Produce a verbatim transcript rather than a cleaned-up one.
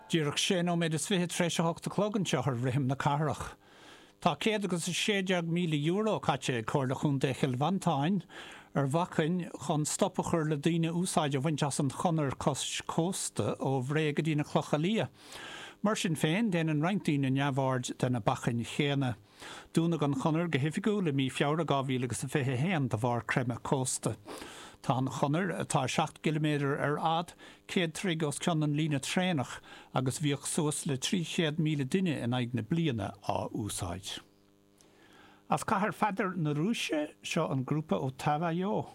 Díreach sé nóiméad is fiche tar éis a hocht a chlog anseo ar Rithim na Cathrach. Tá céad agus a sé déag míle euro caite ag Comhairle Chontae Chill Mhantáin ar bhacainn chun stop a chur le daoine úsáid a bhaint as an chonair cois cósta ó Bhré go dtí na Clocha Liath. Mar sin féin, déanann roinnt daoine neamhaird de na bacainn chéanna. Dúnadh an chonair go hoifigiúil i mí Feabhra dhá mhíle agus a fiche a haon de bharr creimeadh cósta. Tá an chonair, atá seacht gciliméadar ar fhad, céad troigh os cionn an líne traenach agus bhíodh suas le trí chéad míle duine in aghaidh na bliana á úsáid. As Cathair Pheadair na Rúise, seo an grúpa Otava Yo.